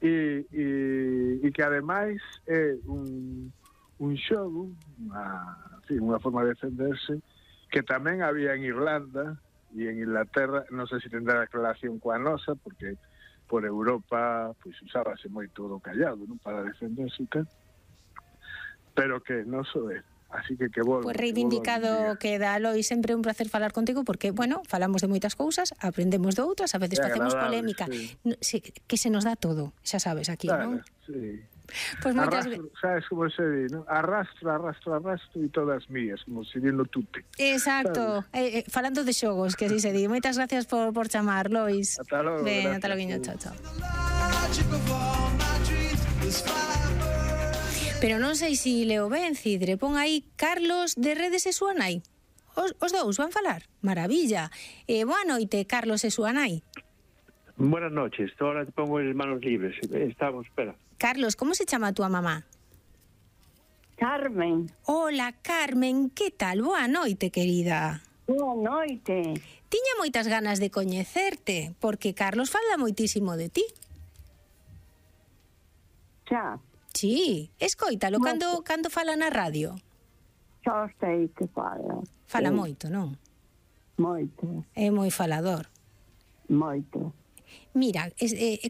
e que ademais é un xogo, unha forma de defenderse que tamén había en Irlanda e en Inglaterra. Non sei se tendrá relación coa nosa, porque por Europa pois usábase moito do callado, non, para defenderse, pero que non só é. Así que volve. Pues reivindicado queda, Lois, sempre un placer falar contigo, porque, bueno, falamos de moitas cousas, aprendemos de outras, a veces facemos polémica, sí, que se nos dá todo, xa sabes, aquí, claro, non? Sí. Pues moitas sabes como se di, ¿no? Arrastro e todas mías, como se di no tute. Exacto, falando de xogos, que así se di. Moitas gracias por chamar, Lois. Ata logo. Ben, ata logo, chao, chao. Pero non sei se leo ben, Cidre, pon aí Carlos de Redes e súa nai. Os dous van falar? Maravilla. Boa noite, Carlos e súa nai. Buenas noches, ahora te pongo en manos libres. Estamos, espera. Carlos, como se chama a túa mamá? Carmen. Hola, Carmen, que tal? Boa noite, querida. Boa noite. Tiña moitas ganas de coñecerte, porque Carlos fala moitísimo de ti. Xa. Sí, escoítalo cando fala na radio. Xa sei que fala. Fala moito, non? Moito. É moi falador. Moito. Mira,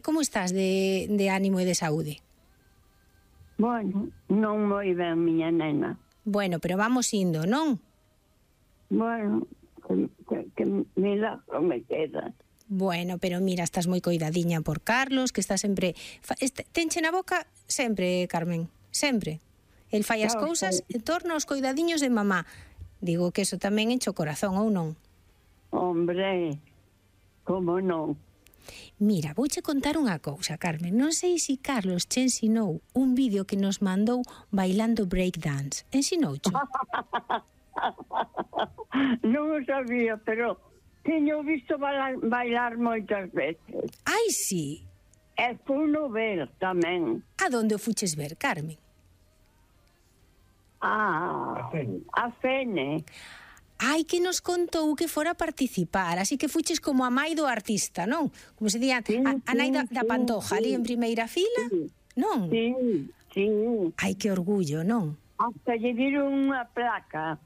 como estás de ánimo e de saúde? Bueno, non moi ben, miña nena. Bueno, pero vamos indo, non? Bueno, que milagro me queda. Bueno, pero mira, estás moi coidadiña por Carlos, que está sempre... Tenche na boca sempre, Carmen, sempre. El fai as cousas en torno aos coidadiños de mamá. Digo que eso tamén enche o corazón, ou non? Hombre, como non? Mira, vouche contar unha cousa, Carmen. Non sei se Carlos che ensinou un vídeo que nos mandou bailando breakdance. Ensinoucho? Non o sabía, pero teño visto bailar moitas veces. Ai, sí. E funo ver tamén. A donde o fuches ver, Carmen? A Fene. Ai, que nos contou que fora a participar, así que fuches como a mai do artista, non? Como se día, a nai da Pantoja, ali en primeira fila, non? Sí, sí. Ai, que orgullo, non? Hasta lle diron unha placa.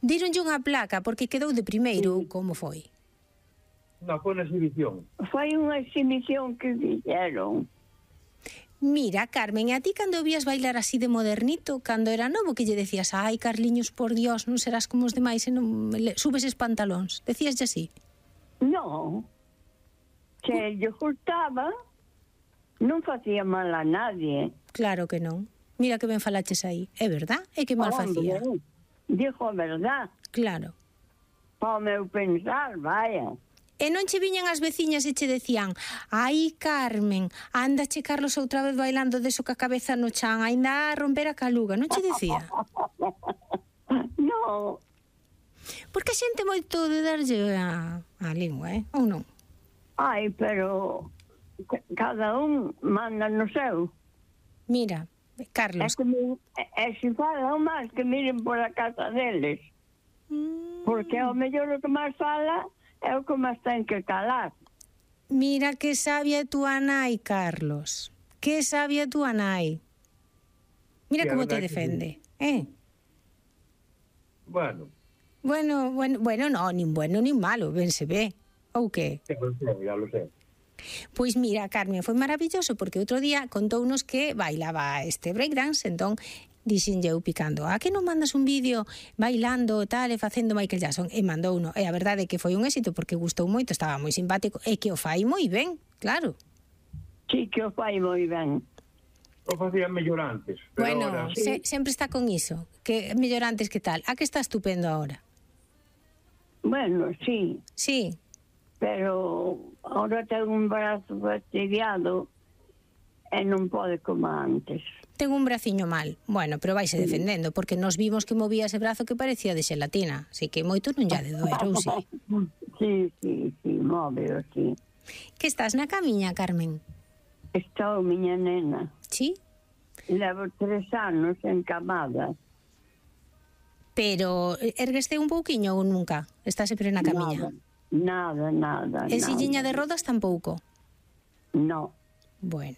Díronlle unha placa porque quedou de primeiro, como foi? Non, foi unha exhibición. Foi unha exhibición que fixeron. Mira, Carmen, a ti cando vías bailar así de modernito, cando era novo, que lle decías, ai, Carliños, por Dios, non serás como os demais e non subes es pantalóns. Decíaslle así? Non. Se lle gustaba, non facía mal a nadie. Claro que non. Mira que ben falaches aí. É verdad? É que mal facía. Dijo a verdad. Claro. Para o meu pensar, vaya. E non che viñan as veciñas e che decían, ai, Carmen, andache Carlos outra vez bailando deso ca cabeza no chan, ainda a romper a caluga, non che dicía? Non. Porque a xente moito de darlle a lingua, ou non? Ai, pero cada un manda no seu. Mira, Carlos. E se falan máis que miren por a casa deles. Porque ao mellor o que máis fala é o que máis ten que calar. Mira que sabia túa nai, Carlos. Que sabia túa nai. Mira como te defende, Bueno. Bueno, no, nin bueno nin malo, ben se ve. Ou que? Ya lo sé. Pois mira, Carmen, foi maravilloso porque outro día contounos que bailaba este breakdance, entón dixenlle eu picando, a que non mandas un vídeo bailando tal e facendo Michael Jackson? E mandou uno, e a verdade é que foi un éxito porque gustou moito, estaba moi simpático e que o fai moi ben, claro. Sí, que o fai moi ben. O facían mellor antes. Pero bueno, ahora, sí. Sempre está con iso, que mellor antes que tal. A que está estupendo ahora? Bueno, sí. Sí. Pero ahora ten un brazo fastidiado e non pode como antes. Ten un braciño mal. Bueno, pero vaise defendendo, porque nos vimos que movía ese brazo que parecía de xelatina. Así que moito non lla de doer, ou si? Sí, móveo, sí. Que estás na camiña, Carmen? Estou, miña nena. Sí? Levo 3 anos encamada. Pero ergueste un pouquiño ou nunca? Estás sempre na camiña? Nada. E silliña de rodas tampouco? No. Bueno,